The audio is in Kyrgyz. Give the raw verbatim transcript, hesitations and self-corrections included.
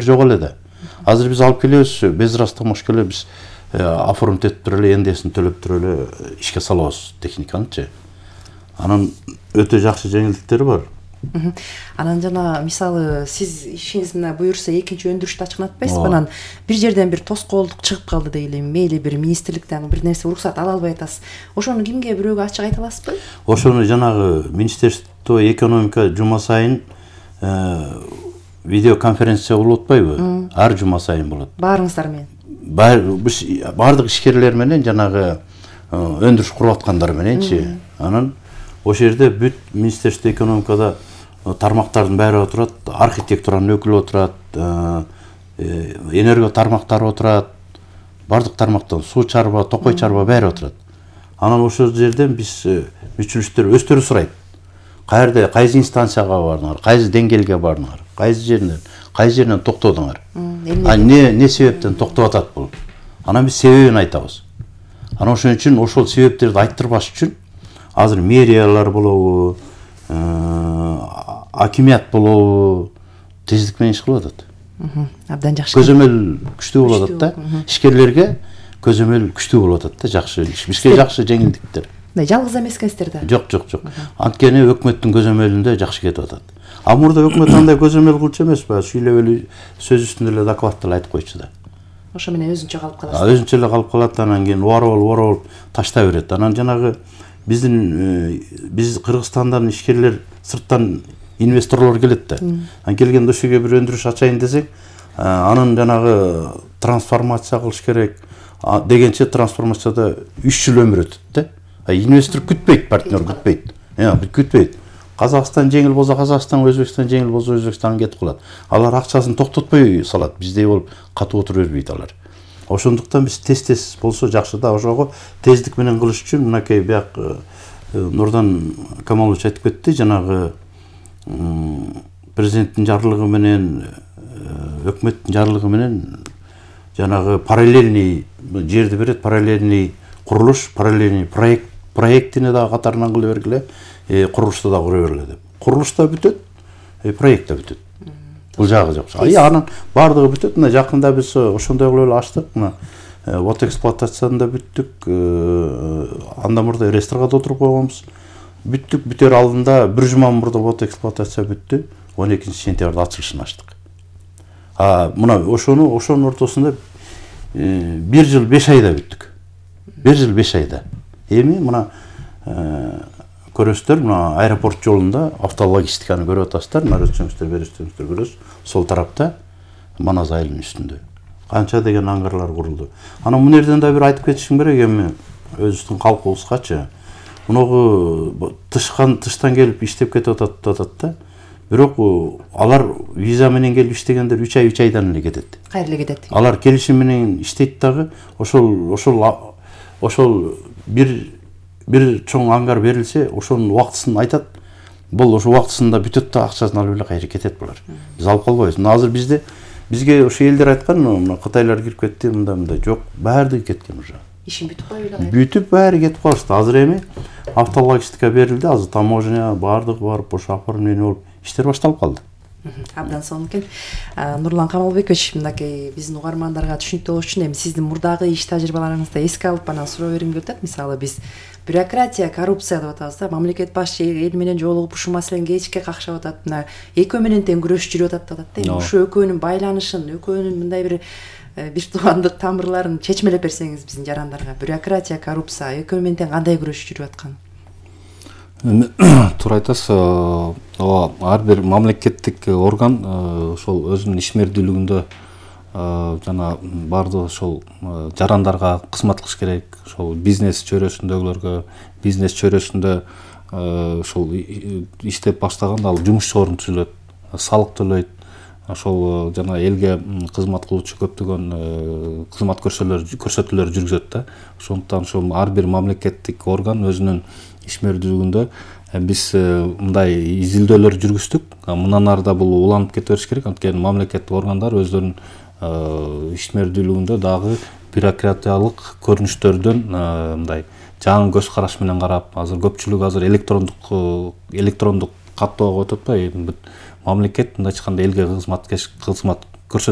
жок эле да. Азыр биз алып келебиз, без растамаш келе биз оформить этип туруп эле, эндесин төлөп туруп эле ишке салабыз техниканычы. Анан өтө жакшы жеңилдиктери бар. Анан жана мисалы сиз ишиңиз мына буюрса экинчи өндүрүштү ачкынатпайсызбы? Анан бир жерден бир тоскоолдук чыгып калды дейли, мейли бир министрликтен бир нерсе уруксат ала албай атасыз. Ошону кимге бирөөгө ачык айта аласызбы? Ошону жанагы Министерство экономика жума сайын видео конференция болуп атпайбы? Ар жума сайын болот. Баарыңыздар менен. Бардык ишкерлер менен жанагы өндүрүш куруп аткандар мененчи. Анан ошол жерде бүт Министерство экономикада тармактардын баары отурат, архитектуранын өкүлү отурат, энерго тармактары отурат, бардык тармактан суу чарба, токой чарба баары отурат. Анан ошол жерден биз мүчүлүштөр өздөрү сурайт. Каерде, кайсы инстанцияга бардыңар, кайсы деңгээлге бардыңар, кайсы жеринен, кайсы жеринен токтодуңар. А не не себептен токтоп атат бул? Анан биз себебин айтабыз. Анан ошон үчүн ошол себептерди айттырбаш үчүн азыр мэриялар болобу, акимият болобу тездик менен иш кылып атат. Абдан жакшы. Көзөмөл күчтүү болуп атат да. Ишкерлерге көзөмөл күчтүү болуп атат да, жакшы. Бизге жакшы жеңилдиктер. Жалгыз эмескенсиздер да. Жок, жок, жок. Анткени өкмөттүн көзөмөлүндө жакшы кетип атат. А мурда өкмөт андай көзөмөл кылчу эмеспи? Сүйлөп эле сөз үстүндө эле докладты эле айтып койчу да. Ошо менен өзүнчө калып калат. Өзүнчө эле калып калат, анан кийин уарып уарып таштай берет. Анан жанагы биздин биз Кыргызстандан ишкерлер, сырттан инвесторлор келет да. Анан келгенде ошо жерге бир өндүрүш ачайын десек, анын жанагы трансформация кылыш керек дегенче трансформацияда үч жыл өмүр өтөт да. Инвестор күтпейт, партнер күтпейт. Я, күтпейт. Казакстан жеңил болсо Казакстан, Өзбекстан жеңил болсо Өзбекстан кетип калат. Алар акчасын токтотпой салат. Биздей болуп катуу отура бербейт алар. Ошондуктан биз тез-тез болсо жакшы да. Ошого тездик менен кылыш үчүн мынакей бияк Нурдан Камалович айтып кетти, жанагы президенттин жарлыгы менен, өкмөттүн жарлыгы менен жанагы параллельный жерди берет, параллельный курулуш, параллельный проект проектине дагы катарынан кыла бергиле, курулушта да кура бергиле деп. Курулуш да бүтөт, проект да бүтөт. Бул жагы жок. Ай анын бардыгы бүтөт. Мына жакында биз ошондой кылып эле ачтык. Мына вот эксплуатацияны да бүттүк. Андан мурда ресторга отуруп койгонбуз. Бүттүк, бүтөр алдында бир жума мурда вот эксплуатация бүттү. он экинчи сентябрда ачылышын ачтык. А мына ошону ошонун ортосунда бир жыл беш айда бүттүк. бир жыл беш айда. Эми мына көрөсүздөр, мына аэропорт жолунда автологистиканы көрүп атасыздар, мына өтсөңүздөр, бересиңиздер көрөсүз. Сол тарапта Манас айылынын үстүндө канча деген аңгарлар курулду. Анан мына жерден да бир айтып кетишим керек, эми өзүбүздүн калкыбызгачы. Мунугу тышкан тыштан келип иштеп кетип атат атат да. Бирок алар виза менен келип иштегендер үч ай үч айдан эле кетет. Кайра эле кетет. Алар келишим менен иштейт дагы, ошол ошол ошол бир бир чоң аңгар берилсе, ошонун убактысын айтат. Бул ошо убактысында бүтөт да акчасын алып эле кайра кетет булар. Биз алып калбайбыз. Мына азыр бизде бизге ошо элдер айткан, мына Кытайлар кирип кетти, мында мында жок, баардыгы кеткен уже. Ишин бүтүп койбойбу? Бүтүп баары кетип калышты. Азыр эми автологистика берилди, азыр таможня баардыгы барып ошо оформление болуп иштер башталып калды. Абдан сонун экен. Нурлан Камалбекович, мынакей биздин угармандарга түшүнүктүү болуш үчүн эми сиздин мурдагы иш тажрыйбаларыңызды эске алып анан суроо бергим келип атат. Мисалы биз бюрократия, коррупция деп атабыз да. Мамлекет башчы эл менен жолугуп ушул маселени кечке какшап атат. Мына экөө менен тең күрөш жүрүп атат деп атат да. Ушул экөөнүн байланышын, экөөнүн мындай бир бир тубандык тамырларын чечмелеп берсеңиз биздин жарандарга. Бюрократия, коррупция экөө менен тең кандай күрөш жүрүп аткан? Туура айтасыз. Ооба, ар бир мамлекеттик орган ошол өзүнүн ишмердүүлүгүндө жана баардыгы ошол жарандарга кызмат кылыш керек. Ошол бизнес чөйрөсүндөгүлөргө, бизнес чөйрөсүндө ошол иштеп баштаганда ал жумуш орун түзүлөт, салык төлөйт. Ошол жана элге кызмат кылуучу көптөгөн кызмат көрсөтүүлөр жүргүзөт да. Ошондуктан ошол ар бир мамлекеттик орган өзүнүн ишмердүүлүгүндө биз мындай изилдөөлөр жүргүздүк. Мындан ары да бул уланып кете бериш керек. Анткени мамлекеттик органдар өздөрүнүн ишмердүүлүгүндө дагы бюрократиялык көрүнүштөрдөн мындай жаңы көз караш менен карап, азыр көпчүлүк азыр электрондук электрондук каттоого өтүп атпайбы? Мамлекет мындайча айтканда элге кызмат кызмат көрсөтүш